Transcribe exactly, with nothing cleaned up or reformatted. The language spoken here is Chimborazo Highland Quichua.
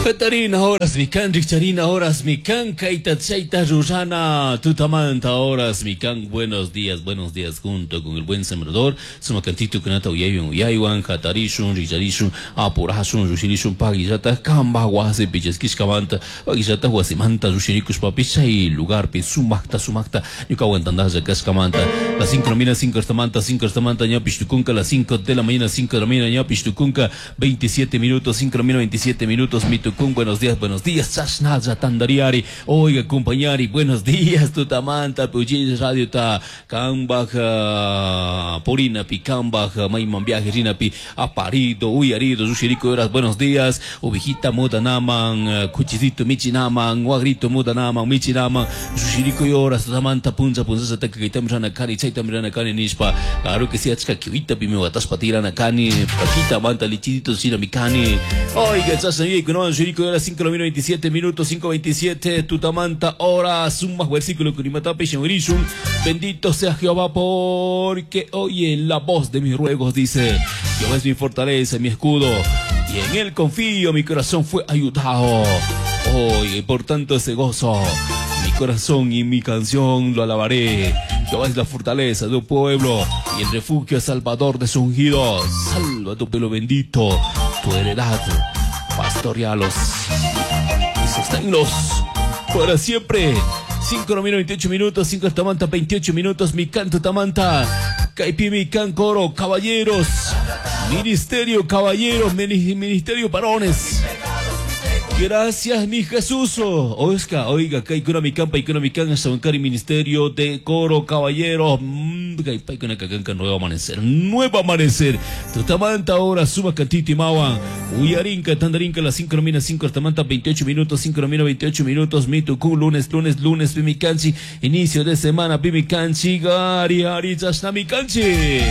Catarina horas mikan, Richarina horas mikan, Kaita Chaita Rurana, Tutamanta horas mikan. Buenos días, buenos días, junto con el buen sembrador. Sumakantito kunata uyaywan uyaywan, Katarishun, Richarishun, Apurashun, Rushirishun, Pagillata, Kamba, Wasi, Pichesquishkamanta, Pagillata, Wasimanta, Rushirikus, Papishay, lugar, Sumakta, Sumakta, Yukawantandaja, Kaskamanta, las cinco de la mañana, cinco de la cinco de la mañana, Ñapish las cinco de la mañana, cinco de la mañana, Ñapish Tucunca, veintisiete minutos, cinco de la mañana, veintisiete minutos, mi Tucun, buenos días, buenos días, Chasnaja Tandariari, oiga, acompañari, buenos días, Tutamanta, Pujil Radio Ta, Cambaja, Purinapi, Cambaja, Maiman Viaje, Rinapi, Aparido, Uyarido, Rushirico, horas, buenos días, Ovejita Mudanaman, Cuchicito, Michinaman, Guagrito Mudanaman, Michinaman, Rushirico y horas, Tutamanta, Punza, Punza, Takaitam, Ranakani, Chaitam, Ranakani, Nishpa, claro que sí, Achka, Kiwita, Pimiwatas, Patirana, Kani, Paquita, Manta, Lichidito, Sinamikani, oiga, Chasnayi, Kunoan, Shiriko, horas cinco veintisiete minutos, cinco veintisiete, Tutamanta, horas, un más versículo, Kurimatape, Shemurishun, bendito sea Jehová, porque oye la voz de mis ruegos, dice, Jehová es mi fortaleza, mi escudo, y en él confío, mi corazón fue ayudado, oye, por tanto ese gozo, mi corazón y mi canción lo alabaré. Jehová es la fortaleza de tu pueblo y el refugio salvador de su ungido. Salva tu pueblo bendito, tu heredad, pastorealos y sosténlos para siempre. cinco veintiocho minutos, cinco tamanta, veintiocho minutos, mi canto tamanta, Caipimi can coro, caballeros, ministerio caballeros, ministerio varones. Gracias, mi Jesús. Oiga, oiga, kaikuna mi campa, ikuna mi can, Sabancari, Ministerio de Coro, Caballero. Nuevo amanecer, nuevo amanecer. Tutamanta ahora, suma cantito y mawan. Uyarinca, tandarinca, las cinco de la cinco tamanta, veintiocho minutos, cinco de la veintiocho minutos. Mitucú, lunes, lunes, lunes, pimicanchi. Inicio de semana, pimicanchi, gari, ari, chasnamicanchi.